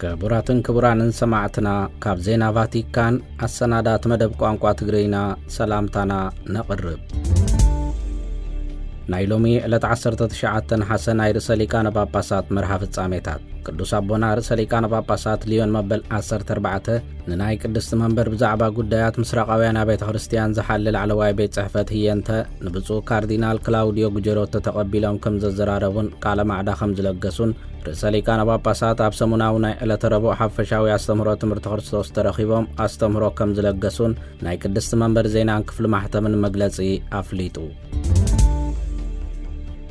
ክቡራትን ክቡራንን ሰማዕትና፣ ካብ ዜና ቫቲካን ኣሰናዳት መደብ ቋንቋ ትግርኛ ሰላምታና ነቕርብ። ናይ ሎሚ ዕለት ዓሰርተ ትሽዓተ ነሓሰ ናይ ርእሰ ሊቃነ ጳጳሳት መርሃ ፍጻሜታት። ቅዱስ ኣቦና ርእሰ ሊቃነ ጳጳሳት ሊዮን መበል ዓሰርተ ኣርባዕተ ንናይ ቅድስቲ መንበር ብዛዕባ ጉዳያት ምስራቃውያን ኣብያተ ክርስቲያን ዝሓሊ ላዕለዋይ ቤት ጽሕፈት ህየንተ ንብፁዕ ካርዲናል ክላውዲዮ ጉጀሮቶ ተቐቢሎም ከም ዘዘራረቡን ቃለ ማዕዳ ከም ዝለገሱን፣ ርእሰ ሊቃነ ጳጳሳት ኣብ ሰሙናዊ ናይ ዕለተ ረቡዕ ሓፈሻዊ ኣስተምህሮ ትምህርቲ ክርስቶስ ተረኺቦም ኣስተምህሮ ከም ዝለገሱን ናይ ቅድስቲ መንበር ዜናን ክፍሊ ማሕተምን መግለጺ ኣፍሊጡ።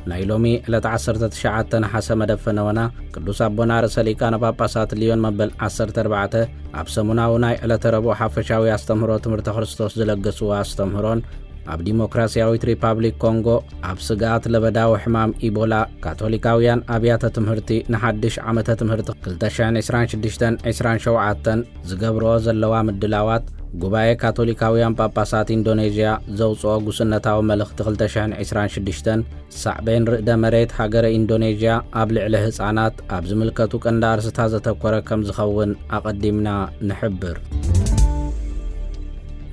ናይ ሎሚ ዕለት ዓሰርተ ትሽዓተ ነሓሰ መደብ ፈነወና ቅዱስ ኣቦና ርእሰ ሊቃነ ጳጳሳት ሊዮን መበል ዓሰርተ ኣርባዕተ ኣብ ሰሙናዊ ናይ ዕለተ ረቡዕ ሓፈሻዊ ኣስተምህሮ ትምህርቲ ክርስቶስ ዝለገስዎ ኣስተምህሮን፣ ኣብ ዲሞክራሲያዊት ሪፓብሊክ ኮንጎ ኣብ ስግኣት ለበዳዊ ሕማም ኢቦላ ካቶሊካውያን ኣብያተ ትምህርቲ ንሓድሽ ዓመተ ትምህርቲ ክልተ ሽሕን ዕስራን ሽዱሽተን ዕስራን ሸውዓተን ዝገብርኦ ዘለዋ ምድላዋት፣ ጉባኤ ካቶሊካውያን ጳጳሳት ኢንዶኔዥያ ዘውፅኦ ጉስነታዊ መልእኽቲ ክልተ ሽሕን ዕስራን ሽዱሽተን፣ ሳዕቤን ርእደ መሬት ሃገረ ኢንዶኔዥያ ኣብ ልዕሊ ህፃናት ኣብ ዝምልከቱ ቀንዲ ኣርስታት ዘተኮረ ከም ዝኸውን ኣቐዲምና ንሕብር።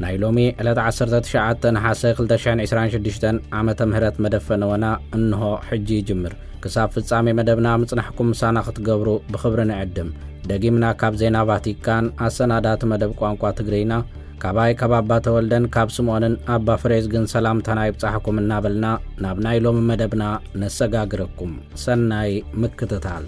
ናይ ሎሚ ዕለት ዓሰርተ ትሽዓተ ነሓሰ ክልተ ሽሕን ዕስራን ሽዱሽተን ዓመተ ምህረት መደብ ፈነወና እንሆ ሕጂ ይጅምር። ክሳብ ፍጻሜ መደብና ምጽናሕኩም ምሳና ክትገብሩ ብኽብሪ ንዕድም። ደጊምና ካብ ዜና ቫቲካን ኣሰናዳቲ መደብ ቋንቋ ትግርኛ፣ ካባይ ካብ ኣባ ተወልደን ካብ ስምዖንን ኣባ ፍሬዝግን ሰላምታና ይብጻሕኩም እናበልና ናብ ናይ ሎሚ መደብና ነሰጋግረኩም። ሰናይ ምክትታል።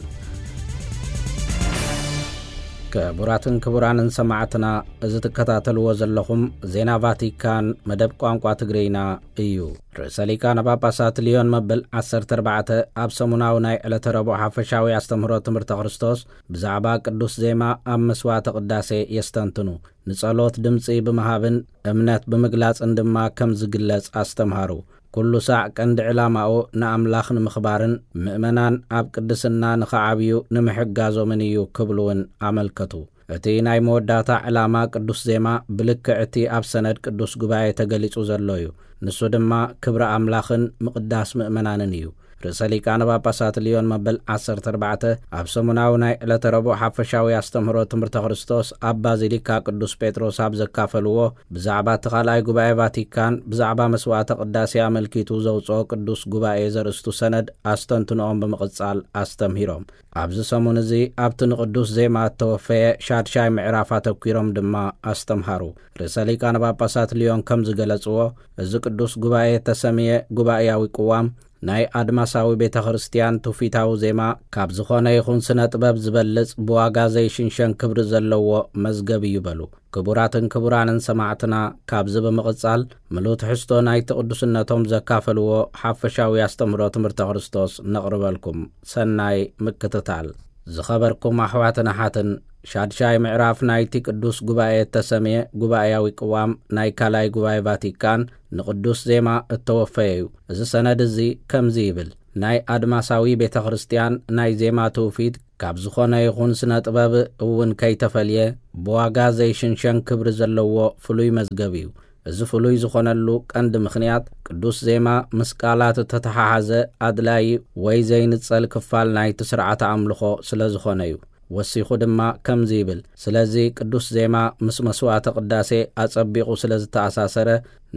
ክቡራትን ክቡራንን ሰማዕትና፣ እዚ ትከታተልዎ ዘለኹም ዜና ቫቲካን መደብ ቋንቋ ትግርኛ እዩ። ርእሰ ሊቃነ ጳጳሳት ሊዮን መበል ዓሰርተ ኣርባዕተ ኣብ ሰሙናዊ ናይ ዕለተ ረቡዕ ሓፈሻዊ ኣስተምህሮ ትምህርተ ክርስቶስ ብዛዕባ ቅዱስ ዜማ ኣብ መስዋዕተ ቅዳሴ የስተንትኑ። ንጸሎት ድምጺ ብምሃብን እምነት ብምግላጽን ድማ ከም ዝግለጽ ኣስተምሃሩ። ኩሉ ሳዕ ቀንዲ ዕላማኡ ንኣምላኽ ንምኽባርን ምእመናን ኣብ ቅድስና ንኽዓብዩ ንምሕጋዞምን እዩ ክብሉ እውን ኣመልከቱ። እቲ ናይ መወዳእታ ዕላማ ቅዱስ ዜማ ብልክዕ እቲ ኣብ ሰነድ ቅዱስ ጉባኤ ተገሊጹ ዘሎ እዩ። ንሱ ድማ ክብሪ ኣምላኽን ምቕዳስ ምእመናንን እዩ። ርእሰ ሊቃነ ጳጳሳት ሊዮን መበል ዓሰርተ ኣርባዕተ ኣብ ሰሙናዊ ናይ ዕለተ ረቡዕ ሓፈሻዊ ኣስተምህሮ ትምህርተ ክርስቶስ ኣብ ባዚሊካ ቅዱስ ጴጥሮስ ኣብ ዘካፈልዎ፣ ብዛዕባ እቲ ካልኣይ ጉባኤ ቫቲካን ብዛዕባ መስዋዕተ ቅዳሴ ኣመልኪቱ ዘውጽኦ ቅዱስ ጉባኤ ዘርእስቱ ሰነድ ኣስተንትኖኦም ብምቕጻል ኣስተምሂሮም። ኣብዚ ሰሙን እዚ ኣብቲ ንቅዱስ ዜማ እተወፈየ ሻድሻይ ምዕራፍ ኣተኲሮም ድማ ኣስተምሃሩ። ርእሰ ሊቃነ ጳጳሳት ሊዮን ከም ዝገለጽዎ፣ እዚ ቅዱስ ጉባኤ እተሰምየ ጉባኤያዊ ቅዋም ናይ ኣድማሳዊ ቤተ ክርስቲያን ትውፊታዊ ዜማ ካብ ዝኾነ ይኹን ስነ ጥበብ ዝበልጽ ብዋጋ ዘይሽንሸን ክብሪ ዘለዎ መዝገብ እዩ በሉ። ክቡራትን ክቡራንን ሰማዕትና፣ ካብዚ ብምቕጻል ምሉእ ትሕዝቶ ናይቲ ቅዱስነቶም ዘካፈልዎ ሓፈሻዊ ኣስተምህሮ ትምህርተ ክርስቶስ ነቕርበልኩም። ሰናይ ምክትታል። ዝኸበርኩም ኣሕዋትን ኣሓትን፣ ሻድሻይ ምዕራፍ ናይቲ ቅዱስ ጉባኤ እተሰምየ ጉባኤያዊ ቅዋም ናይ ካልኣይ ጉባኤ ቫቲካን ንቅዱስ ዜማ እተወፈየ እዩ። እዚ ሰነድ እዚ ከምዚ ይብል፣ ናይ ኣድማሳዊ ቤተ ክርስቲያን ናይ ዜማ ትውፊት ካብ ዝኾነ ይኹን ስነ ጥበብ እውን ከይተፈልየ ብዋጋ ዘይሽንሸን ክብሪ ዘለዎ ፍሉይ መዝገብ እዩ። እዚ ፍሉይ ዝኾነሉ ቀንዲ ምኽንያት ቅዱስ ዜማ ምስ ቃላት እተተሓሓዘ ኣድላዪ ወይ ዘይንጸል ክፋል ናይቲ ስርዓተ ኣምልኾ ስለ ዝኾነ እዩ። ወሲኹ ድማ ከምዚ ይብል፣ ስለዚ ቅዱስ ዜማ ምስ መስዋዕተ ቅዳሴ ኣጸቢቑ ስለ ዝተኣሳሰረ፣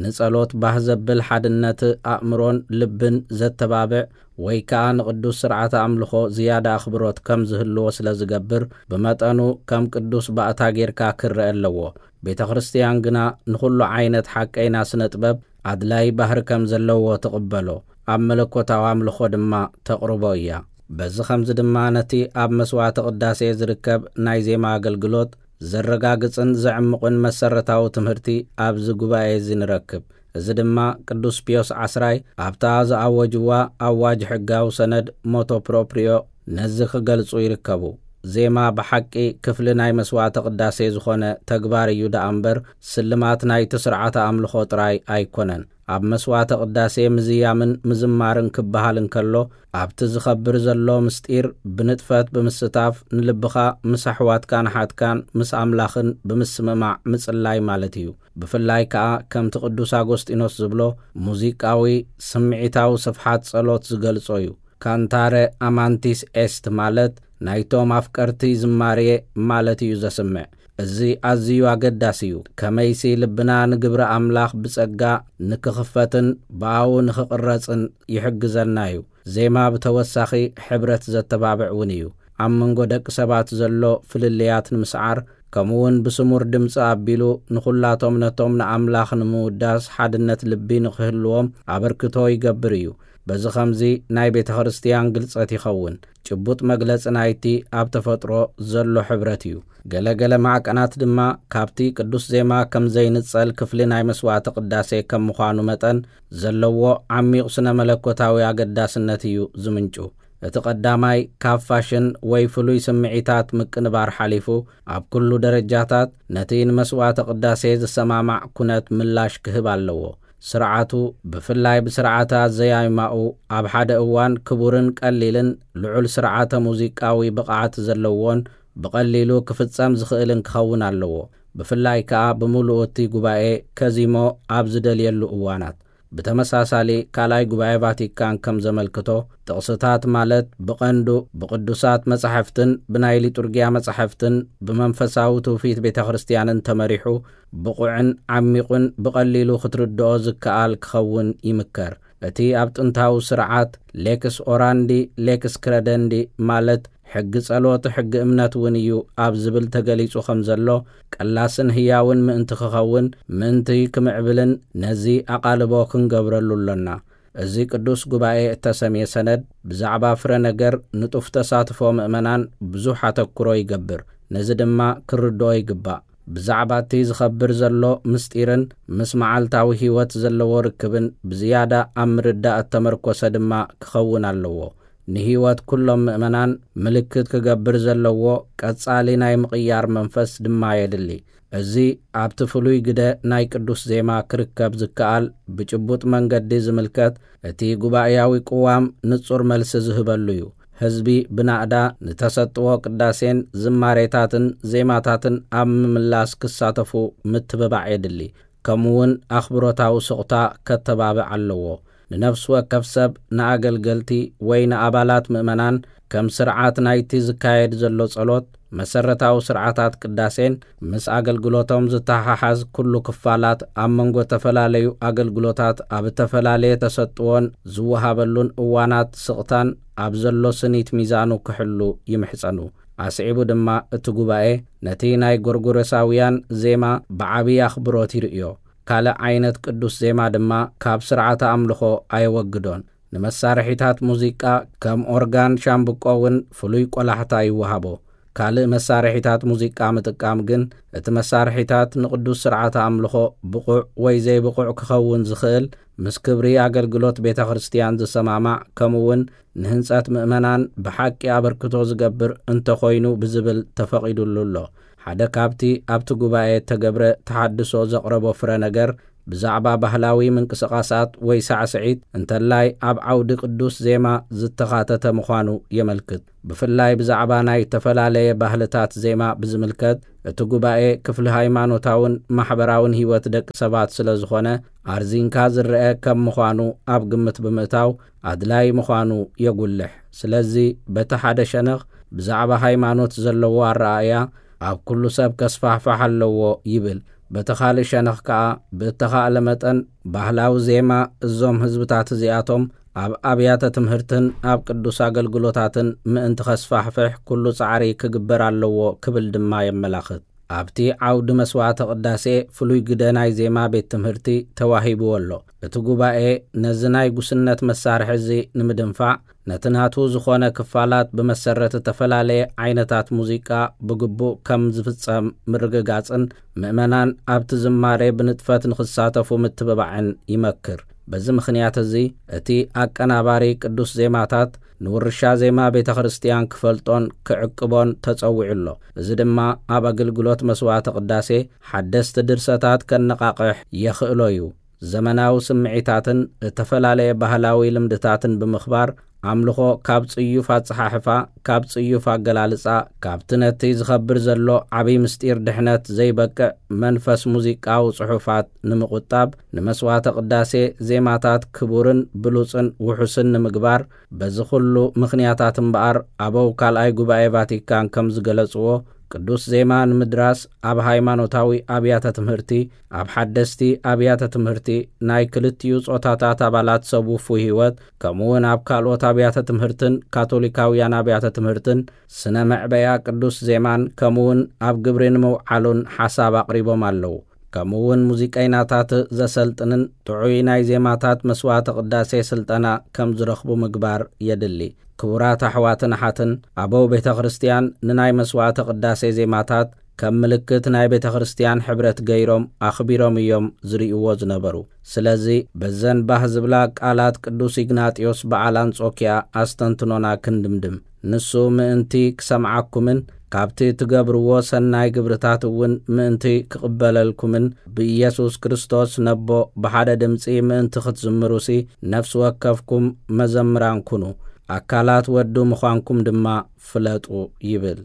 ንጸሎት ባህ ዘብል ሓድነት ኣእምሮን ልብን ዘተባብዕ ወይ ከኣ ንቅዱስ ስርዓተ ኣምልኾ ዝያዳ ኣኽብሮት ከም ዝህልዎ ስለ ዝገብር፣ ብመጠኑ ከም ቅዱስ ባእታ ጌርካ ክረአ ኣለዎ። ቤተ ክርስቲያን ግና ንኹሉ ዓይነት ሓቀይና ስነ ጥበብ ኣድላይ ባህሪ ከም ዘለዎ ትቕበሎ፣ ኣብ መለኮታዊ ኣምልኾ ድማ ተቕርቦ እያ። በዚ ኸምዚ ድማ ነቲ ኣብ መስዋዕተ ቅዳሴ ዝርከብ ናይ ዜማ ኣገልግሎት ዘረጋግጽን ዘዕምቕን መሰረታዊ ትምህርቲ ኣብዚ ጉባኤ እዚ ንረክብ። እዚ ድማ ቅዱስ ፒዮስ ዓስራይ ኣብታ ዝኣወጅዋ ኣዋጅ ሕጋዊ ሰነድ ሞቶ ፕሮፕሪዮ ነዚ ክገልጹ ይርከቡ። ዜማ ብሓቂ ክፍሊ ናይ መስዋዕተ ቅዳሴ ዝኾነ ተግባር እዩ ደኣ እምበር፣ ስልማት ናይቲ ስርዓተ ኣምልኾ ጥራይ ኣይኮነን። ኣብ መስዋዕተ ቅዳሴ ምዝያምን ምዝማርን ክበሃል እንከሎ፣ ኣብቲ ዝኸብር ዘሎ ምስጢር ብንጥፈት ብምስታፍ ንልብኻ ምስ ኣሕዋትካን ኣሓትካን ምስ ኣምላኽን ብምስምማዕ ምጽላይ ማለት እዩ። ብፍላይ ከኣ ከምቲ ቅዱስ ኣጎስጢኖስ ዝብሎ፣ ሙዚቃዊ ስምዒታዊ ስፍሓት ጸሎት ዝገልጾ እዩ። ካንታረ ኣማንቲስ ኤስት ማለት ናይቶም ኣፍቀርቲ ዝማሬ ማለት እዩ ዘስምዕ። እዚ ኣዝዩ ኣገዳሲ እዩ። ከመይሲ ልብና ንግብሪ ኣምላኽ ብጸጋ ንክኽፈትን ብኣኡ ንኽቕረጽን ይሕግዘና እዩ። ዜማ ብተወሳኺ ሕብረት ዘተባብዕ እውን እዩ። ኣብ መንጎ ደቂ ሰባት ዘሎ ፍልልያት ንምስዓር፣ ከምኡውን ብስሙር ድምፂ ኣቢሉ ንኹላቶም ነቶም ንኣምላኽ ንምውዳስ ሓድነት ልቢ ንኽህልዎም ኣበርክቶ ይገብር እዩ። በዚ ኸምዚ ናይ ቤተ ክርስቲያን ግልጸት ይኸውን። ጭቡጥ መግለጺ ናይቲ ኣብ ተፈጥሮ ዘሎ ሕብረት እዩ። ገለ ገለ ማዕቀናት ድማ ካብቲ ቅዱስ ዜማ ከም ዘይንጸል ክፍሊ ናይ መስዋዕቲ ቅዳሴ ከም ምዃኑ መጠን ዘለዎ ዓሚቕ ስነ መለኮታዊ ኣገዳስነት እዩ ዝምንጩ። እቲ ቀዳማይ ካብ ፋሽን ወይ ፍሉይ ስምዒታት ምቅንባር ሓሊፉ፣ ኣብ ኩሉ ደረጃታት ነቲ ንመስዋዕተ ቅዳሴ ዝሰማማዕ ኩነት ምላሽ ክህብ ኣለዎ። ስርዓቱ፣ ብፍላይ ብስርዓተ ኣዘያይማኡ፣ ኣብ ሓደ እዋን ክቡርን ቀሊልን ልዑል ስርዓተ ሙዚቃዊ ብቕዓት ዘለዎን ብቐሊሉ ክፍጸም ዝኽእልን ክኸውን ኣለዎ። ብፍላይ ከኣ ብምሉኡ እቲ ጉባኤ ከዚሞ ኣብ ዝደልየሉ እዋናት። ብተመሳሳሊ፣ ካልኣይ ጉባኤ ቫቲካን ከም ዘመልክቶ፣ ጥቕስታት ማለት ብቐንዱ ብቅዱሳት መጻሕፍትን ብናይ ሊጡርጊያ መጻሕፍትን ብመንፈሳዊ ትውፊት ቤተ ክርስቲያንን ተመሪሑ፣ ብቑዕን ዓሚቑን ብቐሊሉ ክትርድኦ ዝከኣል ክኸውን ይምከር። እቲ ኣብ ጥንታዊ ስርዓት ሌክስ ኦራንዲ፣ ሌክስ ክረደንዲ፣ ማለት ሕጊ ጸሎት ሕጊ እምነት እውን እዩ ኣብ ዝብል ተገሊጹ ከም ዘሎ፣ ቀላስን ህያውን ምእንቲ ክኸውን፣ ምእንቲ ክምዕብልን ነዚ ኣቓልቦ ክንገብረሉ ኣሎና። እዚ ቅዱስ ጉባኤ እተሰምየ ሰነድ ብዛዕባ ፍረ ነገር ንጡፍ ተሳትፎ ምእመናን ብዙሕ ኣተኩሮ ይገብር። ነዚ ድማ ክርድኦ ይግባእ። ብዛዕባ እቲ ዝኸብር ዘሎ ምስጢርን ምስ መዓልታዊ ህይወት ዘለዎ ርክብን ብዝያዳ ኣብ ምርዳእ እተመርኮሰ ድማ ክኸውን ኣለዎ። ንህይወት ኩሎም ምእመናን ምልክት ክገብር ዘለዎ ቀጻሊ ናይ ምቕያር መንፈስ ድማ የድሊ። እዚ ኣብቲ ፍሉይ ግደ ናይ ቅዱስ ዜማ ክርከብ ዝከኣል ብጭቡጥ መንገዲ ዝምልከት እቲ ጉባኤያዊ ቅዋም ንጹር መልሲ ዝህበሉ እዩ። ህዝቢ ብናእዳ ንተሰጥዎ ቅዳሴን ዝማሬታትን ዜማታትን ኣብ ምምላስ ክሳተፉ ምትብባዕ የድሊ። ከምኡውን ኣኽብሮታዊ ስቕታ ከተባብዕ ኣለዎ። ንነፍሲ ወከፍ ሰብ፣ ንኣገልገልቲ ወይ ንኣባላት ምእመናን ከም ስርዓት ናይቲ ዝካየድ ዘሎ ጸሎት፣ መሰረታዊ ስርዓታት ቅዳሴን ምስ ኣገልግሎቶም ዝተሓሓዝ ኩሉ ክፋላት፣ ኣብ መንጎ እተፈላለዩ ኣገልግሎታት ኣብ እተፈላለየ ተሰጥዎን ዝወሃበሉን እዋናት ስቕታን ኣብ ዘሎ ስኒት ሚዛኑ ክሕሉ ይምሕጸኑ። ኣስዒቡ ድማ እቲ ጉባኤ ነቲ ናይ ጎርጎሮሳውያን ዜማ ብዓብዪ ኣኽብሮት ይርእዮ። ካልእ ዓይነት ቅዱስ ዜማ ድማ ካብ ስርዓተ ኣምልኾ ኣየወግዶን። ንመሳርሒታት ሙዚቃ ከም ኦርጋን ሻምብቆ እውን ፍሉይ ቆላሕታ ይወሃቦ። ካልእ መሳርሒታት ሙዚቃ ምጥቃም ግን እቲ መሳርሒታት ንቅዱስ ስርዓተ ኣምልኾ ብቑዕ ወይ ዘይብቑዕ ክኸውን ዝኽእል፣ ምስ ክብሪ ኣገልግሎት ቤተ ክርስቲያን ዝሰማማዕ፣ ከምኡውን ንህንጸት ምእመናን ብሓቂ ኣበርክቶ ዝገብር እንተኾይኑ ብዝብል ተፈቒዱሉ ኣሎ። ሓደ ካብቲ ኣብቲ ጉባኤ እተገብረ ተሓድሶ ዘቕረቦ ፍረ ነገር ብዛዕባ ባህላዊ ምንቅስቓሳት ወይ ሳዕስዒት፣ እንተላይ ኣብ ዓውዲ ቅዱስ ዜማ ዝተኻተተ ምዃኑ የመልክት። ብፍላይ ብዛዕባ ናይ እተፈላለየ ባህልታት ዜማ ብዝምልከት፣ እቲ ጉባኤ ክፍሊ ሃይማኖታውን ማሕበራውን ህይወት ደቂ ሰባት ስለ ዝኾነ፣ ኣርዚንካ ዝረአ ከም ምዃኑ ኣብ ግምት ብምእታው ኣድላዪ ምዃኑ የጉልሕ። ስለዚ በቲ ሓደ ሸነኽ ብዛዕባ ሃይማኖት ዘለዎ ኣረኣእያ ኣብ ኩሉ ሰብ ከስፋሕፋሕ ኣለዎ ይብል። በቲ ካልእ ሸነኽ ከኣ ብእተኻእለ መጠን ባህላዊ ዜማ እዞም ህዝብታት እዚኣቶም ኣብ ኣብያተ ትምህርትን ኣብ ቅዱስ ኣገልግሎታትን ምእንቲ ከስፋሕፍሕ ኩሉ ጻዕሪ ክግበር ኣለዎ ክብል ድማ የመላኽት። ኣብቲ ዓውዲ መስዋዕተ ቅዳሴ ፍሉይ ግደ ናይ ዜማ ቤት ትምህርቲ ተዋሂብዎ ኣሎ። እቲ ጉባኤ ነዚ ናይ ጉስነት መሳርሒ እዚ ንምድንፋዕ፣ ነቲ ናቱ ዝኾነ ክፋላት ብመሰረት እተፈላለየ ዓይነታት ሙዚቃ ብግቡእ ከም ዝፍጸም ምርግጋጽን ምእመናን ኣብቲ ዝማሬ ብንጥፈት ንኽሳተፉ ምትብባዕን ይመክር። በዚ ምኽንያት እዚ፣ እቲ ኣቀናባሪ ቅዱስ ዜማታት ንውርሻ ዜማ ቤተ ክርስቲያን ክፈልጦን ክዕቅቦን ተጸዊዑ ኣሎ። እዚ ድማ ኣብ ኣገልግሎት መስዋዕተ ቅዳሴ ሓደስቲ ድርሰታት ከነቓቕሕ የኽእሎ እዩ። ዘመናዊ ስምዒታትን እተፈላለየ ባህላዊ ልምድታትን ብምኽባር፣ ኣምልኾ ካብ ጽዩፍ ኣጸሓሕፋ፣ ካብ ጽዩፍ ኣገላልጻ፣ ካብቲ ነቲ ዝኸብር ዘሎ ዓቢ ምስጢር ድሕነት ዘይበቅዕ መንፈስ ሙዚቃዊ ጽሑፋት ንምቑጣብ፣ ንመስዋዕተ ቅዳሴ ዜማታት ክቡርን ብሉጽን ውሑስን ንምግባር፣ በዚ ኹሉ ምኽንያታት እምበኣር፣ ኣበው ካልኣይ ጉባኤ ቫቲካን ከም ዝገለጽዎ፣ ቅዱስ ዜማ ንምድራስ ኣብ ሃይማኖታዊ ኣብያተ ትምህርቲ፣ ኣብ ሓደስቲ ኣብያተ ትምህርቲ፣ ናይ ክልቲኡ ጾታታት ኣባላት ሰብ ውፉይ ህይወት፣ ከምኡውን ኣብ ካልኦት ኣብያተ ትምህርትን ካቶሊካውያን ኣብያተ ትምህርትን ስነ መዕበያ ቅዱስ ዜማን ከምኡውን ኣብ ግብሪ ንምውዓሉን ሓሳብ ኣቕሪቦም ኣለዉ። ከምኡውን ሙዚቀይናታት ዘሰልጥንን ጥዑይ ናይ ዜማታት መስዋዕተ ቅዳሴ ስልጠና ከም ዝረኽቡ ምግባር የድሊ። ክቡራት ኣሕዋትን ኣሓትን፣ ኣበው ቤተ ክርስቲያን ንናይ መስዋዕተ ቅዳሴ ዜማታት ከም ምልክት ናይ ቤተ ክርስቲያን ሕብረት ገይሮም ኣኽቢሮም እዮም ዝርእይዎ ዝነበሩ። ስለዚ በዘን ባህ ዝብላ ቃላት ቅዱስ ኢግናጢዮስ በዓል ኣንጾኪያ ኣስተንትኖና ክንድምድም። ንሱ ምእንቲ ክሰምዓኩምን ካብቲ ትገብርዎ ሰናይ ግብርታት እውን ምእንቲ ክቕበለልኩምን ብኢየሱስ ክርስቶስ ነቦ ብሓደ ድምጺ ምእንቲ ክትዝምሩሲ ነፍሲ ወከፍኩም መዘምራን ኩኑ፣ ኣካላት ወዱ ምዃንኩም ድማ ፍለጡ ይብል።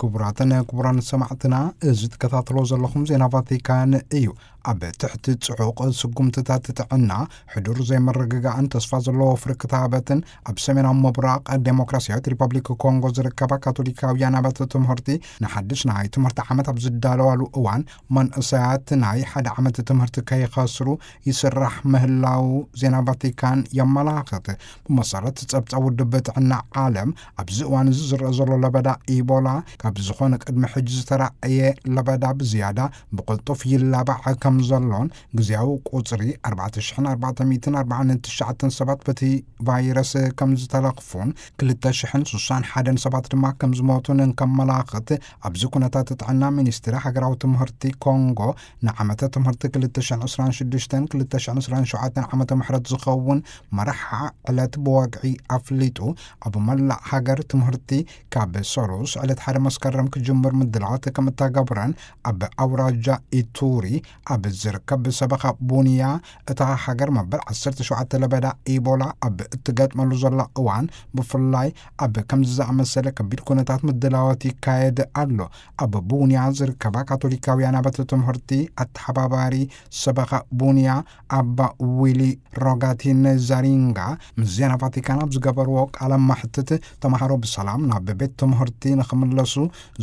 ክቡራትን ክቡራን ሰማዕትና፣ እዚ ትከታተሎ ዘለኹም ዜና ቫቲካን እዩ። ኣብ ትሕቲ ጽዑቕ ስጉምትታት ጥዕና፣ ሕዱር ዘይምርግጋእን ተስፋ ዘለዎ ፍርቂ ክታበትን ኣብ ሰሜናዊ ምብራቕ ዴሞክራሲያዊት ሪፐብሊክ ኮንጎ ዝርከባ ካቶሊካውያን ኣብያተ ትምህርቲ ንሓድሽ ናይ ትምህርቲ ዓመት ኣብ ዝዳለዋሉ እዋን፣ መንእሰያት ናይ ሓደ ዓመት ትምህርቲ ከይኸስሩ ይስራሕ ምህላው ዜና ቫቲካን የመላኽት። ብመሰረት ጸብጻብ ውድብ ጥዕና ዓለም፣ ኣብዚ እዋን እዚ ዝረአ ዘሎ ለበዳ ኢቦላ ካብ ዝኾነ ቅድሚ ሕጂ ዝተራእየ ለበዳ ብዝያዳ ብቕልጡፍ ይላባዕ ከም ዘሎን፣ ግዜያዊ ቁጽሪ ኣርባዕተ ሽሕን ኣርባዕተ ሚእትን ኣርባዓን ትሽዓተን ሰባት በቲ ቫይረስ ከም ዝተለኽፉን፣ ክልተ ሽሕን ስሳን ሓደን ሰባት ድማ ከም ዝሞቱን እንከመላኽት፣ ኣብዚ ኩነታት ጥዕና ሚኒስትሪ ሃገራዊ ትምህርቲ ኮንጎ ንዓመተ ትምህርቲ ክልተ ሽሕን ዕስራን ሽዱሽተን ክልተ ሽሕን ዕስራን ሸውዓተን ዓመተ ምሕረት ዝኸውን መርሓ ዕለት ብወግዒ ኣፍሊጡ፣ ኣብ መላእ ሃገር ትምህርቲ ካብ ሰሉስ ዕለት ሓደ መስከረም ክጅምር ምድላዋት ከም እተገብረን፣ ኣብ ኣውራጃ ኢቱሪ ኣብ ዝርከብ ሰበኻ ቡንያ እታ ሃገር መበል ዓሰርተ ሸውዓተ ለበዳ ኢቦላ ኣብ እትገጥመሉ ዘላ እዋን፣ ብፍላይ ኣብ ከምዚ ዝኣመሰለ ከቢድ ኩነታት ምድላዋት ይካየድ ኣሎ። ኣብ ቡንያ ዝርከባ ካቶሊካውያን ኣብያተ ትምህርቲ ኣተሓባባሪ ሰበኻ ቡንያ ኣባ ዊሊ ሮጋቲን ዛሪንጋ ምስ ዜና ቫቲካን ኣብ ዝገበርዎ ቃለ መሕትት፣ ተምሃሮ ብሰላም ናብ ቤት ትምህርቲ ንኽምለሱ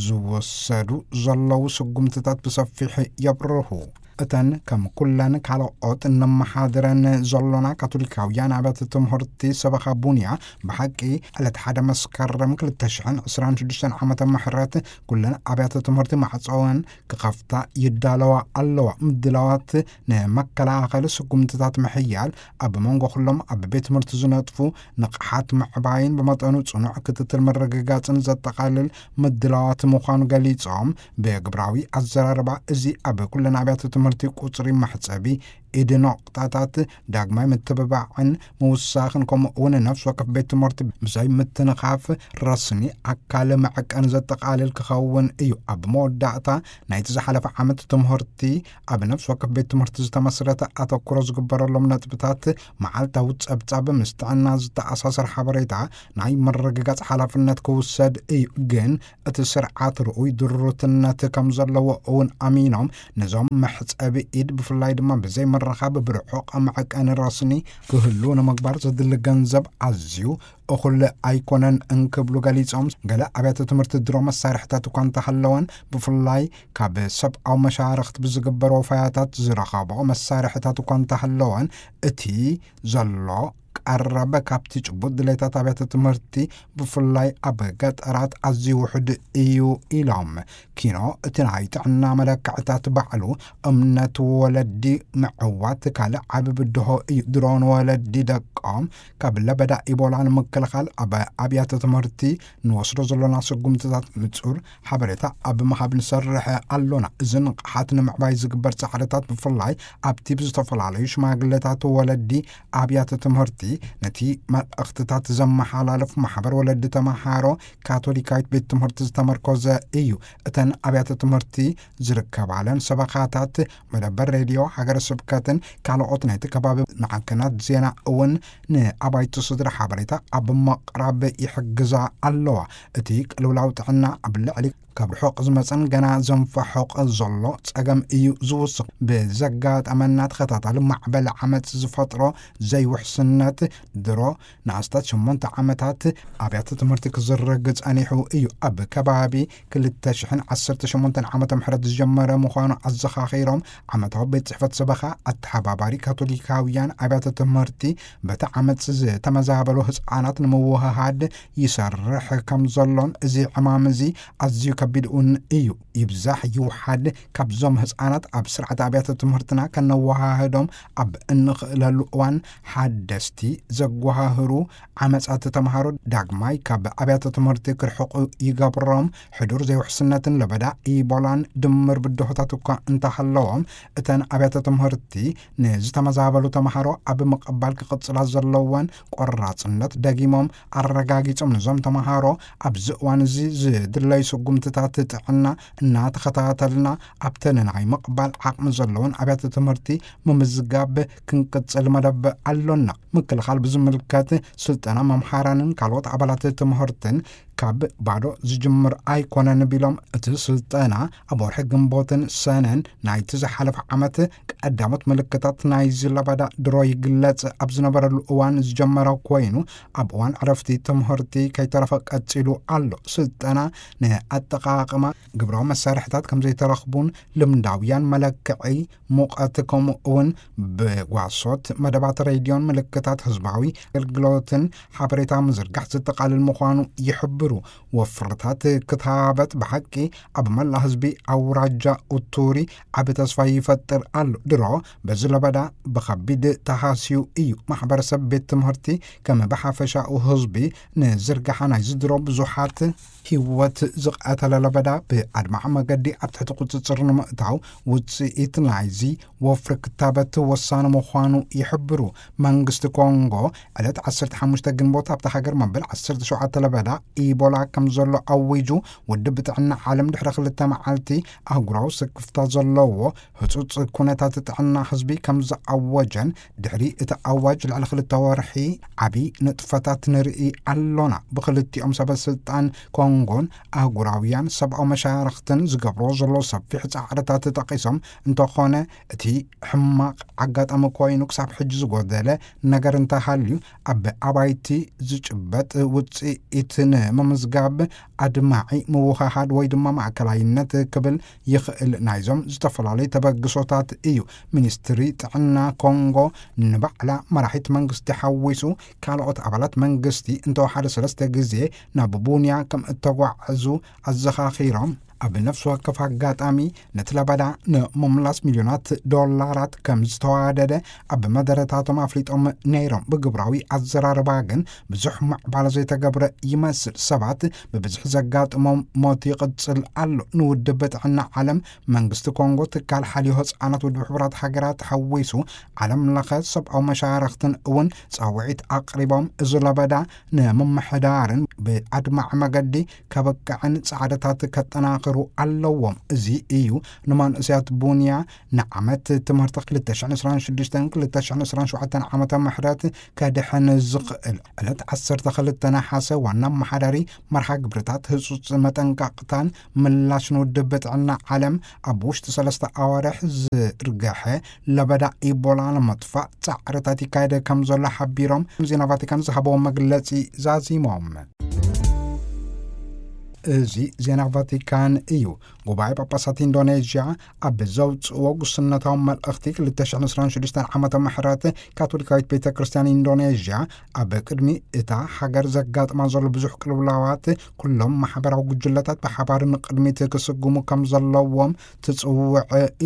ዝወሰዱ ዘለዉ ስጉምትታት ብሰፊሕ የብርሁ። እተን ከም ኩለን ካልኦት እንመሓድረን ዘሎና ካቶሊካውያን ኣብያተ ትምህርቲ ሰበኻ ቡንያ፣ ብሓቂ ዕለት ሓደ መስከረም ክልተ ሽሕን ዕስራን ሽዱሽተን ዓመተ ምሕረት ኩለን ኣብያተ ትምህርቲ ማዕጾወን ክኸፍታ ይዳለዋ ኣለዋ። ምድላዋት ንመከላኸሊ ስጉምትታት ምሕያል፣ ኣብ መንጎ ኩሎም ኣብ ቤት ትምህርቲ ዝነጥፉ ንቕሓት ምዕባይን ብመጠኑ ጽኑዕ ክትትል ምርግጋጽን ዘጠቓልል ምድላዋት ምዃኑ ገሊጾም፣ ብግብራዊ ኣዘራርባ እዚ ኣብ ኩለን ኣብያተ ትምህርቲ ቁጽሪ መሕጸቢ ኢድ፣ ነቑጣታት ዳግማይ ምትብባዕን ምውሳኽን፣ ከምኡ እውን ነፍሲ ወከፍ ቤት ትምህርቲ ብዘይ ምትንኻፍ ረስኒ ኣካል መዐቀኒ ዘጠቓልል ክኸውን እዩ። ኣብ መወዳእታ ናይቲ ዝሓለፈ ዓመት ትምህርቲ ኣብ ነፍሲ ወከፍ ቤት ትምህርቲ ዝተመስረተ ኣተኩሮ ዝግበረሎም ነጥብታት፣ መዓልታዊ ጸብጻብ፣ ምስ ጥዕና ዝተኣሳሰር ሓበሬታ፣ ናይ ምርግጋጽ ሓላፍነት ክውሰድ እዩ። ግን እቲ ስርዓት ርኡይ ድሩትነት ከም ዘለዎ እውን ኣሚኖም፣ ነዞም መሕጸቢ ኢድ ብፍላይ ድማ ብዘይ ምርኻብ ብርሑቕ መዐቀኒ ረስኒ ክህሉ ንምግባር ዘድሊ ገንዘብ ኣዝዩ እኹል ኣይኮነን እንክብሉ ገሊጾም፣ ገለ ኣብያተ ትምህርቲ ድሮ መሳርሕታት እኳ እንተሃለወን፣ ብፍላይ ካብ ሰብኣዊ መሻርኽቲ ብዝግበር ወፈያታት ዝረኸብኦ መሳርሕታት እኳ እንተሃለወን፣ እቲ ዘሎ ቀረብ ካብቲ ጭቡጥ ድሌታት ኣብያተ ትምህርቲ ብፍላይ ኣብ ገጠራት ኣዝዩ ውሑድ እዩ ኢሎም። ኪኖ እቲ ናይ ጥዕና መለክዕታት ባዕሉ እምነት ወለዲ ምዕዋት ካልእ ዓቢ ብድሆ እዩ። ድሮ ንወለዲ ደቆም ካብ ለበዳ ኢቦላ ንምክ ንምክልኻል ኣብ ኣብያተ ትምህርቲ ንወስዶ ዘሎና ስጉምትታት ንጹር ሓበሬታ ኣብ ምሃብ ንሰርሕ ኣሎና። እዚ ንቕሓት ንምዕባይ ዝግበር ጻዕርታት ብፍላይ ኣብቲ ብዝተፈላለዩ ሽማግለታት ወለዲ ኣብያተ ትምህርቲ ነቲ መልእኽትታት ዘመሓላልፍ ማሕበር ወለዲ ተመሃሮ ካቶሊካዊት ቤት ትምህርቲ ዝተመርኮዘ እዩ። እተን ኣብያተ ትምህርቲ ዝርከባለን ሰበኻታት መደበር ሬድዮ ሃገረ ስብከትን ካልኦት ናይቲ ከባቢ ማዕከናት ዜና እውን ንኣባይቲ ስድራ ሓበሬታ ኣብ ምቕራብ ይሕግዛ ኣለዋ። እቲ ቅልውላው ጥዕና ኣብ ልዕሊ ካብ ርሑቕ ዝመጸን ገና ዘንፈሑቕ ዘሎ ጸገም እዩ ዝውስኽ። ብዘጋጠመና ተኸታታሊ ማዕበል ዓመጽ ዝፈጥሮ ዘይውሕስነት ድሮ ንኣስታት ሸሞንተ ዓመታት ኣብያተ ትምህርቲ ክዝረግ ጸኒሑ እዩ። ኣብ ከባቢ ክልተ ሽሕን ዓሰርተ ሸሞንተን ዓመተ ምሕረት ዝጀመረ ምዃኑ ኣዘኻኺሮም፣ ዓመታዊ ቤት ጽሕፈት ሰበኻ ኣተሓባባሪ ካቶሊካውያን ኣብያተ ትምህርቲ በቲ ዓመጽ ዝተመዛበሉ ህጻናት ንምውህሃድ ይሰርሕ ከም ዘሎን እዚ ዕማም እዚ ኣዝዩ ከቢድ እውን እዩ። ይብዛሕ ይውሓድ ካብዞም ህጻናት ኣብ ስርዓት ኣብያተ ትምህርትና ከነወሃህዶም ኣብ እንኽእለሉ እዋን ሓደስቲ ዘጓሃህሩ ዓመጻት ተምሃሮ ዳግማይ ካብ ኣብያተ ትምህርቲ ክርሕቑ ይገብሮም። ሕዱር ዘይውሕስነትን ለበዳ ኢቦላን ድምር ብድሆታት እኳ እንተሃለዎም፣ እተን ኣብያተ ትምህርቲ ንዝተመዛበሉ ተምሃሮ ኣብ ምቕባል ክቕጽላ ዘለወን ቆራጽነት ደጊሞም ኣረጋጊጾም፣ ነዞም ተምሃሮ ኣብዚ እዋን እዚ ዝድለዩ ስጉምትታት ጥዕና እናተኸታተልና ኣብተን ናይ ምቕባል ዓቕሚ ዘለወን ኣብያተ ትምህርቲ ምምዝጋብ ክንቅጽል መደብ ኣሎና። ምክልኻል ብዝምልከት ስልጠና መምሃራንን ካልኦት ኣባላት ትምህርትን ካብ ባዶ ዝጅምር ኣይኮነን ቢሎም፣ እቲ ስልጠና ኣብ ወርሒ ግንቦትን ሰነን ናይቲ ዝሓለፈ ዓመት ቀዳሞት ምልክታት ናይዚ ለበዳ ድሮ ይግለጽ ኣብ ዝነበረሉ እዋን ዝጀመረ ኮይኑ፣ ኣብ እዋን ዕረፍቲ ትምህርቲ ከይተረፈ ቀጺሉ ኣሎ። ስልጠና ንኣጠቓቕማ ግብራዊ መሳርሕታት ከም ዘይተረኽቡን ልምዳውያን መለክዒ ሙቐት፣ ከምኡ እውን ብጓሶት መደባት ሬድዮን ምልክታት ህዝባዊ ኣገልግሎትን ሓበሬታ ምዝርጋሕ ዘጠቓልል ምዃኑ ይሕብሩ። ወፍርታት ክታበት ብሓቂ ኣብ መላ ህዝቢ ኣውራጃ ኡቱሪ ዓቢ ተስፋ ይፈጥር ኣሎ። ድሮ በዚ ለበዳ ብኸቢድ ተሃስዩ እዩ። ማሕበረሰብ ቤት ትምህርቲ ከም ብሓፈሻኡ ህዝቢ ንዝርጋሓ ናይዚ ድሮ ብዙሓት ህይወት ዝቐተለ ለበዳ ብኣድማዒ መገዲ ኣብ ትሕቲ ቁጽጽር ንምእታው ውጽኢት ናይዚ ወፍሪ ክታበት ወሳኒ ምዃኑ ይሕብሩ። መንግስቲ ኮንጎ ዕለት ዓሰርተ ሓሙሽተ ግንቦት ኣብታ ሃገር መበል ዓሰርተ ሸውዓተ ለበዳ ኢቦላ ከም ዘሎ ኣዊጁ፣ ውድብ ጥዕና ዓለም ድሕሪ ክልተ መዓልቲ ኣህጉራዊ ስክፍታ ዘለዎ ህጹጽ ኩነታት ጥዕና ህዝቢ ከም ዝኣወጀን፣ ድሕሪ እቲ ኣዋጅ ልዕሊ ክልተ ወርሒ ዓቢ ንጥፈታት ንርኢ ኣሎና። ብክልቲኦም ሰበ ስልጣን ኮንጎን ኣህጉራውያን ሰብኣዊ መሻርኽትን ዝገብሮ ዘሎ ሰፊሕ ጻዕርታት ጠቒሶም፣ እንተኾነ እቲ ሕማቕ ኣጋጣሚ ኮይኑ ክሳብ ሕጂ ዝጎደለ ነገር እንተሃልዩ፣ ኣብ ኣባይቲ ዝጭበጥ ውጽኢት ንምምዝጋብ ኣድማዒ ምውህሃድ ወይ ድማ ማእከላይነት ክብል ይኽእል ናይዞም ዝተፈላለዩ ተበግሶታት እዩ። ሚኒስትሪ ጥዕና ኮንጎ ንባዕላ መራሒት መንግስቲ ሓዊሱ ካልኦት ኣባላት መንግስቲ እንተወሓደ ሰለስተ ግዜ ናብ ቡንያ ከም እተጓዕዙ ኣዘኻኺሮም፣ ኣብ ነፍሲ ወከፍ ኣጋጣሚ ነቲ ለበዳ ንምምላስ ሚልዮናት ዶላራት ከም ዝተዋደደ ኣብ መደረታቶም ኣፍሊጦም ነይሮም። ብግብራዊ ኣዘራርባ ግን ብዙሕ ምዕባለ ዘይተገብረ ይመስል። ሰባት ብብዝሒ ዘጋጥሞም ሞት ይቕጽል ኣሎ። ንውድብ ጥዕና ዓለም፣ መንግስቲ ኮንጎ፣ ትካል ሓልዮ ህጻናት ውድብ ሕቡራት ሃገራት ሓዊሱ ዓለም ለኸ ሰብኣዊ መሻርኽትን እውን ጻውዒት ኣቕሪቦም፣ እዚ ለበዳ ንምምሕዳርን ብኣድማዒ መገዲ ከበቅዕን ጻዕርታት ከጠናኽሩ ኣለዎም። እዚ እዩ ንመንእሰያት ቡንያ ንዓመት ትምህርቲ ክልተ ሽሕን ዕስራን ሽዱሽተን ክልተ ሽሕን ዕስራን ሸውዓተን ዓመተ ምሕረት ከድሕን ዝኽእል። ዕለት ዓሰርተ ክልተ ነሓሰ ዋና ኣመሓዳሪ መርሃ ግብርታት ህጹጽ መጠንቀቕታን ምላሽን ውድብ ጥዕና ዓለም ኣብ ውሽጢ ሰለስተ ኣዋርሕ ዝርገሐ ለበዳ ኢቦላ ንምጥፋእ ጻዕርታት ይካየደ ከም ዘሎ ሓቢሮም፣ ዜና ቫቲካን ዝሃበዎ መግለጺ ዛዚሞም። እዚ ዜና ቫቲካን እዩ። ጉባኤ ጳጳሳት ኢንዶኔዥያ ኣብ ዘውፅእዎ ጉስነታዊ መልእኽቲ፣ ክልተ ሽሕን ዕስራን ሽዱሽተን ዓመተ ምሕረት ካቶሊካዊት ቤተ ክርስቲያን ኢንዶኔዥያ ኣብ ቅድሚ እታ ሃገር ዘጋጥማ ዘሎ ብዙሕ ቅልውላዋት፣ ኩሎም ማሕበራዊ ጉጅለታት ብሓባር ንቅድሚት ክስጉሙ ከም ዘለዎም ትጽውዕ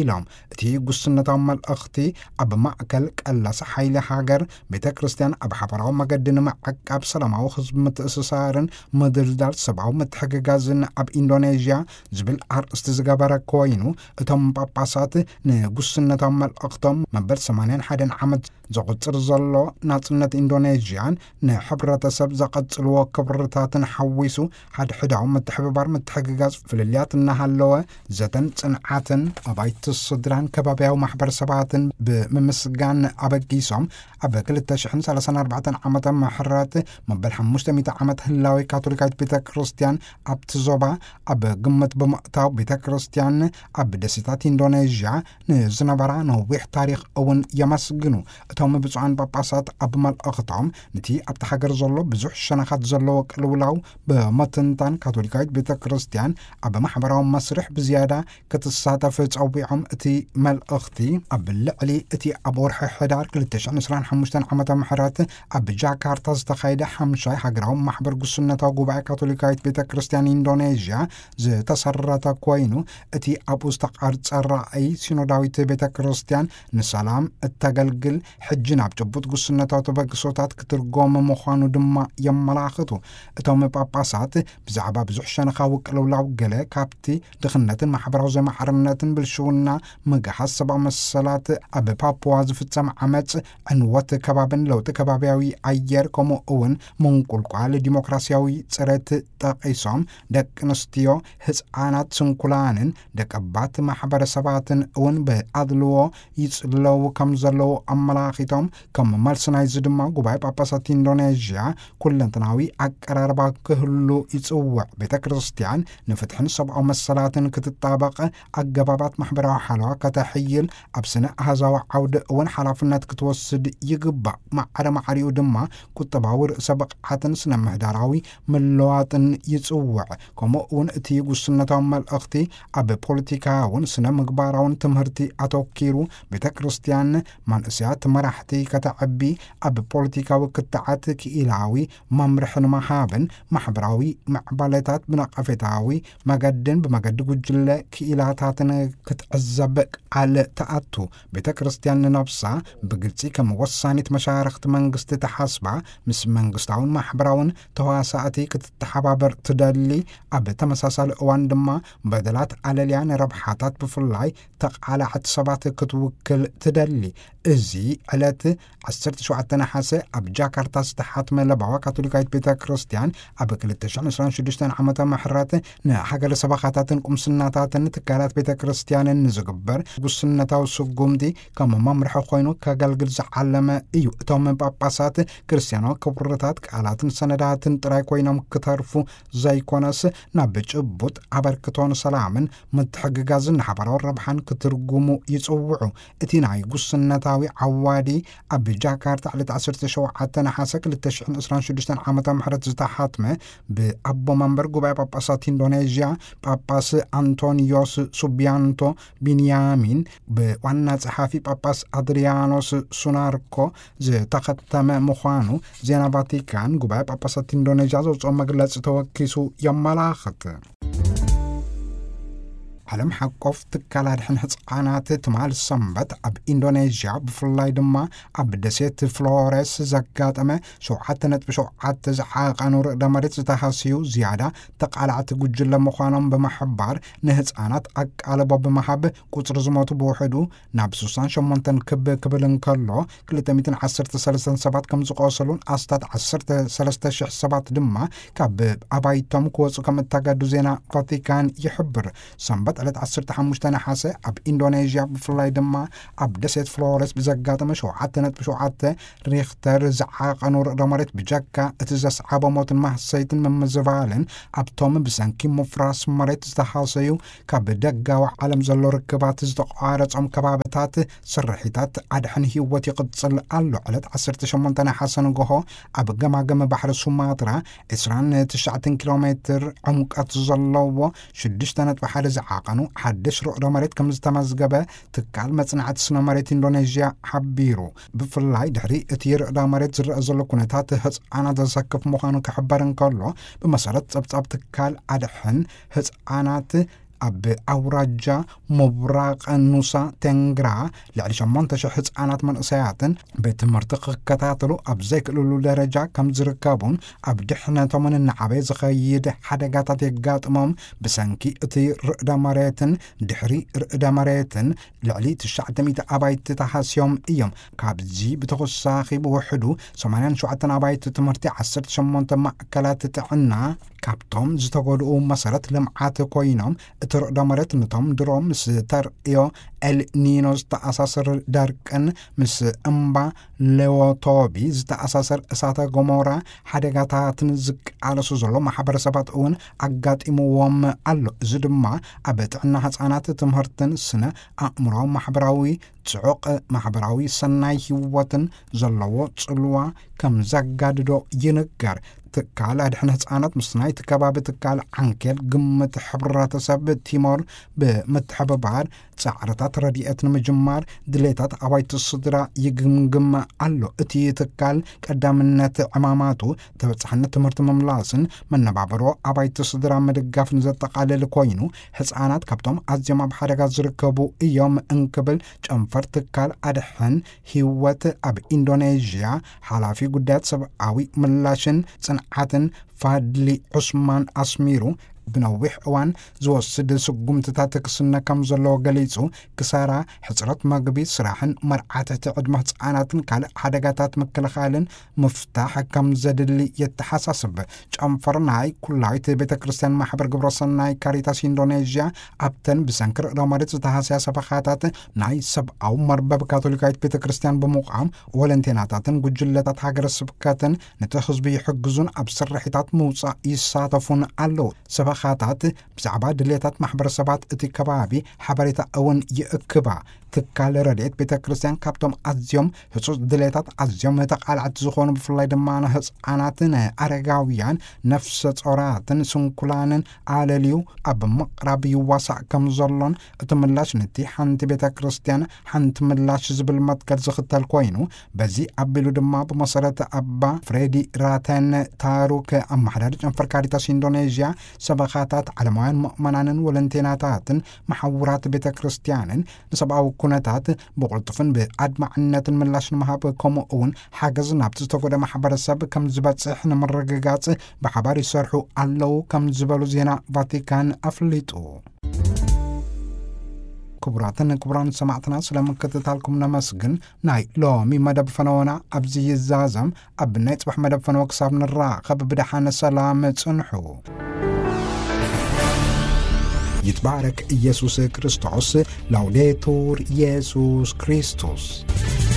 ኢሎም። እቲ ጉስነታዊ መልእኽቲ፣ ኣብ ማእከል ቀላሲ ሓይሊ ሃገር፣ ቤተ ክርስቲያን ኣብ ሓባራዊ መገዲ ንምዕቃብ፣ ሰላማዊ ህዝቢ ምትእስሳርን ምድልዳል ሰብኣዊ ምትሕግጋዝን ኣብ ኢንዶኔዥያ ዝብል ኣርእስቲ ዝገበረ ኮይኑ፣ እቶም ጳጳሳት ንጉስነታዊ መልእኽቶም፣ መበል ሰማንያን ሓደን ዓመት ዘቑጽር ዘሎ ናጽነት ኢንዶኔዥያን ንሕብረተሰብ ዘቐጽልዎ ክብርታትን ሓዊሱ፣ ሓድሕዳዊ ምትሕብባር፣ ምትሕግጋዝ፣ ፍልልያት እናሃለወ፣ ዘተን ጽንዓትን፣ ኣባይቲ ስድራን ከባብያዊ ማሕበረሰባትን ብምምስጋን ኣበጊሶም፣ ኣብ ክልተ ሽሕን ሰላሳን ኣርባዕተን ዓመተ ምሕረት መበል ሓሙሽተ ሚእቲ ዓመት ህላዌ ካቶሊካዊት ቤተ ክርስቲያን ኣብቲ ዞባ ኣብ ግምት ብምእታው፣ ቤተ ክርስቲያን ኣብ ደሴታት ኢንዶኔዥያ ንዝነበራ ነዊሕ ታሪኽ እውን የመስግኑ። እቶም ብፁዓን ጳጳሳት ኣብ መልእኽቶም፣ ነቲ ኣብቲ ሃገር ዘሎ ብዙሕ ሸነኻት ዘለዎ ቅልውላው ብምትንታን፣ ካቶሊካዊት ቤተ ክርስቲያን ኣብ ማሕበራዊ መስርሕ ብዝያዳ ክትሳተፍ ጸዊዖም። እቲ መልእኽቲ፣ ኣብ ልዕሊ እቲ ኣብ ወርሒ ሕዳር ክልተ ሽሕን ዕስራን ሓሙሽተን ዓመተ ምሕረት ኣብ ጃካርታ ዝተኻየደ ሓምሻይ ሃገራዊ ማሕበር ጉስነታዊ ጉባኤ ካቶሊካዊት ቤተ ክርስቲያን ኢንዶኔዥያ ዝተሰረተ ኮይኑ፣ እቲ ኣብኡ ዝተቐርጸ ራእይ፣ ሲኖዳዊት ቤተ ክርስቲያን ንሰላም እተገልግል፣ ሕጂ ናብ ጭቡጥ ጉስነታዊ ተበግሶታት ክትርጎም ምዃኑ ድማ የመላኽቱ። እቶም ጳጳሳት ብዛዕባ ብዙሕ ሸነኻዊ ቅልውላው፣ ገለ ካብቲ ድኽነትን ማሕበራዊ ዘይማዕርነትን ብልሽውና ምግሃስ ሰብኣዊ መሰላት፣ ኣብ ፓፑዋ ዝፍጸም ዓመጽ፣ ዕንወት ከባብን ለውጢ ከባብያዊ ኣየር፣ ከምኡ እውን ምንቁልቋል ዲሞክራሲያዊ ጽሬት ጠቒሶም፣ ደቂ ኣንስትዮ፣ ህጻናት፣ ስንኩላንን ደቀባት ማሕበረሰባትን እውን ብኣድልዎ ይጽለዉ ከም ዘለዉ ኣመላኺቶም፣ ከም መልሲ ናይዚ ድማ ጉባኤ ጳጳሳት ኢንዶኔዥያ ኩለንተናዊ ኣቀራርባ ክህሉ ይጽውዕ። ቤተ ክርስቲያን ንፍትሕን ሰብኣዊ መሰላትን ክትጣበቕ፣ ኣገባባት ማሕበራዊ ሓለዋ ከተሕይል፣ ኣብ ስነ ኣሃዛዊ ዓውዲ እውን ሓላፍነት ክትወስድ ይግባእ። ማዕረ ማዕሪኡ ድማ ቁጠባዊ ርእሰ ብቕዓትን ስነ ምህዳራዊ ምልዋጥን ይጽውዕ። ከምኡ እውን እቲ ጉስነታዊ መልእኽቲ ኣብ ፖለቲካውን ስነ ምግባራውን ትምህርቲ ኣተኪሩ፣ ቤተ ክርስቲያን መንእሰያት መራሕቲ ከተዕቢ፣ ኣብ ፖለቲካዊ ክትዓት ክኢላዊ መምርሒ ንምሃብን ማሕበራዊ ምዕባለታት ብነቐፌታዊ መገድን ብመገዲ ጉጅለ ክኢላታትን ክትዕዘብ ቃል ትኣቱ። ቤተ ክርስቲያን ንነብሳ ብግልጺ ከም ወሳኒት መሻርኽቲ መንግስቲ ተሓስባ፣ ምስ መንግስታውን ማሕበራውን ተዋሳእቲ ክትተሓባበር ትደሊ፣ ኣብ ተመሳሳሊ እዋን ድማ በደላት ኣለልያ ንረብሓታት ብፍላይ ተቓላዕቲ ሰባት ክትውክል ትደሊ። እዚ ዕለት ዓሰርተ ሸውዓተ ነሓሰ ኣብ ጃካርታ ዝተሓትመ ለባዋ ካቶሊካዊት ቤተ ክርስቲያን፣ ኣብ ክልተ ሽሕን ዕስራን ሽዱሽተን ዓመተ ምሕረት ንሃገረ ሰበኻታትን ቁምስናታትን ትካላት ቤተ ክርስቲያንን ንዝግበር ጉስነታዊ ስጉምቲ ከም መምርሒ ኮይኑ ከገልግል ዝዓለመ እዩ። እቶም ጳጳሳት፣ ክርስቲያናዊ ክብርታት ቃላትን ሰነዳትን ጥራይ ኮይኖም ክተርፉ ዘይኮነስ፣ ናብ ጭቡጥ ኣበርክቶን ሰላምን ምትሕግጋዝን ንሓባራዊ ረብሓን ክትርጉሙ ይጽውዑ። እቲ ናይ ጉስነታዊ ዓዋዲ፣ ኣብ ጃካርታ ዕለት ዓሰርተ ሸውዓተ ነሓሰ ክልተ ሽሕን ዕስራን ሽዱሽተን ዓመተ ምሕረት ዝተሓትመ፣ ብኣቦ መንበር ጉባኤ ጳጳሳት ኢንዶኔዥያ ጳጳስ ኣንቶኒዮስ ሱቢያንቶ ቢንያሚን፣ ብዋና ጸሓፊ ጳጳስ ኣድሪያኖስ ሱናርኮ ዝተኸተመ ምዃኑ ዜና ቫቲካን፣ ጉባኤ ጳጳሳት ኢንዶኔዥያ ዘውፅኦ መግለጺ ተወኪሱ የመላኽት። ዓለም ሓቆፍ ትካል ኣድሕን ህፃናት ትማል ሰንበት ኣብ ኢንዶኔዥያ፣ ብፍላይ ድማ ኣብ ደሴት ፍሎረስ ዘጋጠመ ሸውዓተ ነጥቢ ሸውዓተ ዝዓቐኑ ርዕደ መሬት ዝተሃስዩ ዝያዳ ተቓላዕቲ ጉጅለ ምዃኖም ብምሕባር፣ ንህፃናት ኣቃልቦ ብምሃብ፣ ቁፅሪ ዝሞቱ ብውሕዱ ናብ ስሳን ሸሞንተን ክብ ክብል እንከሎ፣ ክልተ ሚእትን ዓሰርተ ሰለስተን ሰባት ከም ዝቆሰሉን ኣስታት ዓሰርተ ሰለስተ ሽሕ ሰባት ድማ ካብ ኣባይቶም ክወፁ ከም እተገዱ ዜና ቫቲካን ይሕብር። ሰንበት ዕለት ዓሰርተ ሓሙሽተ ነሓሰ ኣብ ኢንዶኔዥያ፣ ብፍላይ ድማ ኣብ ደሴት ፍሎረስ ብዘጋጠመ ሸውዓተ ነጥቢ ሸውዓተ ሪኽተር ዝዓቐኑ ርዕደ መሬት ብጀካ እቲ ዘስዓቦ ሞትን ማህሰይትን ምምዝባልን፣ ኣብቶም ብሰንኪ ምፍራስ መሬት ዝተሃሰዩ ካብ ደጋዊ ዓለም ዘሎ ርክባት ዝተቋረጾም ከባብታት ስርሒታት ኣድሕን ህይወት ይቕጽል ኣሎ። ዕለት ዓሰርተ ሸሞንተ ነሓሰ ንግሆ ኣብ ገማግም ባሕሪ ሱማትራ ዕስራን ትሽዓተን ኪሎ ሜትር ዕምቀት ዘለዎ ሽዱሽተ ነጥቢ ሓደ ዝዓቐኑ ሓድሽ ርዕደ መሬት ከም ዝተመዝገበ ትካል መጽናዕቲ ስነ መሬት ኢንዶኔዥያ ሓቢሩ። ብፍላይ ድሕሪ እቲ ርዕደ መሬት ዝረአ ዘሎ ኩነታት ህጻናት ዘሰክፍ ምዃኑ ክሕበር እንከሎ፣ ብመሰረት ጸብጻብ ትካል ኣድሕን ህጻናት ኣብ ኣውራጃ ምብራቕ ኑሳ ቴንግራ ልዕሊ ሸሞንተ ሽሕ ህጻናት መንእሰያትን ቤት ትምህርቲ ክከታተሉ ኣብ ዘይክእልሉ ደረጃ ከም ዝርከቡን፣ ኣብ ድሕነቶምን እናዓበየ ዝኸይድ ሓደጋታት የጋጥሞም ብሰንኪ እቲ ርዕደ መሬትን ድሕሪ ርዕደ መሬትን ልዕሊ ትሽዓተ ሚእቲ ኣባይቲ ተሃስዮም እዮም። ካብዚ ብተወሳኺ ብውሕዱ ሰማንያን ሸውዓተን ኣባይቲ ትምህርቲ፣ ዓሰርተ ሸሞንተ ማእከላት ጥዕና ካብቶም ዝተጎድኡ መሰረት ልምዓት ኮይኖም፣ እቲ ርዕደ መሬት ንቶም ድሮ ምስ ተርእዮ ኤል ኒኖ ዝተኣሳሰር ደርቅን ምስ እምባ ሌዎቶቢ ዝተኣሳሰር እሳተ ገሞራ ሓደጋታትን ዝቃለሱ ዘሎ ማሕበረሰባት እውን ኣጋጢምዎም ኣሎ። እዚ ድማ ኣብ ጥዕና ህጻናት፣ ትምህርትን ስነ ኣእምሮ ማሕበራዊ ጽዑቕ ማሕበራዊ ሰናይ ህይወትን ዘለዎ ጽልዋ ከም ዘጋድዶ ይንገር። ትካል ኣድሕን ህጻናት ምስ ናይቲ ከባቢ ትካል ዓንኬል ግምት ሕብረተሰብ ቲሞር ብምትሕብባር ጻዕርታት ረድኤት ንምጅማር ድሌታት ኣባይቲ ስድራ ይግምግም ኣሎ። እቲ ትካል ቀዳምነት ዕማማቱ ተበጻሕነት ትምህርቲ ምምላስን መነባብሮ ኣባይቲ ስድራ ምድጋፍን ዘጠቓልል ኮይኑ፣ ህጻናት ካብቶም ኣዝዮም ኣብ ሓደጋ ዝርከቡ እዮም እንክብል ጨንፈር ትካል ኣድሕን ህይወት ኣብ ኢንዶኔዥያ ሓላፊ ጉዳያት ሰብኣዊ ምላሽን ጽንዓትን ፋድሊ ዑስማን ኣስሚሩ፣ ብነዊሕ እዋን ዝወስድ ስጉምትታት ክስነ ከም ዘለዎ ገሊጹ፣ ክሳራ፣ ሕጽረት መግቢ፣ ስራሕን መርዓ ትሕቲ ዕድመ ህጻናትን ካልእ ሓደጋታት ምክልኻልን ምፍታሕ ከም ዘድሊ የተሓሳስብ። ጨንፈር ናይ ኩላዊት ቤተ ክርስቲያን ማሕበር ግብረ ሰናይ ካሪታስ ኢንዶኔዥያ ኣብተን ብሰንኪ ርዕደ መሬት ዝተሃስያ ሰበኻታት ናይ ሰብኣዊ መርበብ ካቶሊካዊት ቤተ ክርስቲያን ብምቋም፣ ወለንቴናታትን ጉጅለታት ሃገረ ስብከትን ነቲ ህዝቢ ይሕግዙን ኣብ ስርሒታት ምውጻእ ይሳተፉን ኣለዉ። ሰበኻታት ብዛዕባ ድልየታት ማሕበረሰባት እቲ ከባቢ ሓበሬታ እውን ይእክባ። ትካል ረድኤት ቤተ ክርስቲያን ካብቶም ኣዝዮም ህጹጽ ድልየታት ኣዝዮም ተቓላዕቲ ዝኾኑ፣ ብፍላይ ድማ ንህጻናትን ኣረጋውያን፣ ነፍሰ ጾራትን ስንኩላንን ኣለልዩ ኣብ ምቕራብ ይዋሳእ ከም ዘሎን፣ እቲ ምላሽ ነቲ ሓንቲ ቤተ ክርስቲያን ሓንቲ ምላሽ ዝብል መትከል ዝኽተል ኮይኑ፣ በዚ ኣቢሉ ድማ ብመሰረት ኣባ ፍሬዲ ራተን ታሩክ፣ ኣመሓዳሪ ጨንፈር ካሪታስ ኢንዶኔዥያ፣ ሰበኻታት፣ ዓለማውያን ምእመናንን ወለንቴናታትን መሓውራት ቤተ ክርስቲያንን ንሰብኣዊ ኩነታት ብቕልጡፍን ብኣድማዕነትን ምላሽ ንምሃብ፣ ከምኡ እውን ሓገዝ ናብቲ ዝተጎደ ማሕበረሰብ ከም ዝበጽሕ ንምርግጋጽ ብሓባር ይሰርሑ ኣለዉ ከም ዝበሉ ዜና ቫቲካን ኣፍሊጡ። ክቡራትን ክቡራን ሰማዕትና፣ ስለ ምክትታልኩም ነመስግን። ናይ ሎሚ መደብ ፈነወና ኣብዚ ይዛዘም። ኣብ ናይ ጽባሕ መደብ ፈነወ ክሳብ ንራኸብ ብደሓን ሰላም ጽንሑ። ይትባረክ ኢየሱስ ክርስቶስ። ላውዴቱር ኢየሱስ ክርስቶስ።